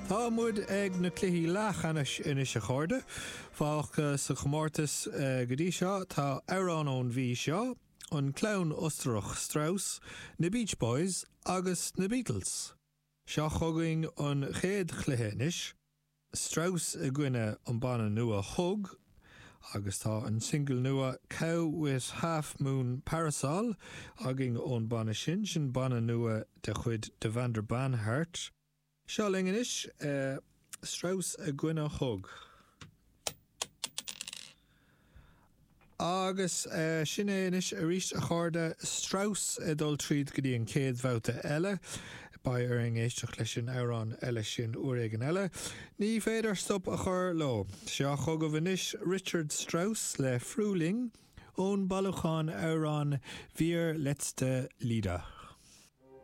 Tá muid ag na cluichí leathcheannais anois a chairde. Fágtha sa chomórtas go dtí seo tá amhrán ón mhí seo, an clann Ostarach Strauss, na Beach Boys agus na Beatles. Seo chugainn an chéad chluiche anois. Strauss i gcoinne an banna nua Hug agus tá an singil nua Cow With Half Moon Parasol againn ón banna sin, sin banna nua de chuid Devendra Banhart. Seo linn anois, Strauss i gcoinne Hug. Agus sin é anois arís, a chairde, Strauss ag dul tríd go dtí an chéad bhabhta eile. Beidh orainn éisteacht leis an amhrán eile sin uair éigin eile. Ní féidir stop a chur leo. Seo chugaibh anois Richard Strauss le Frühling ón bailiúchán amhrán Vier Letzte Lieder.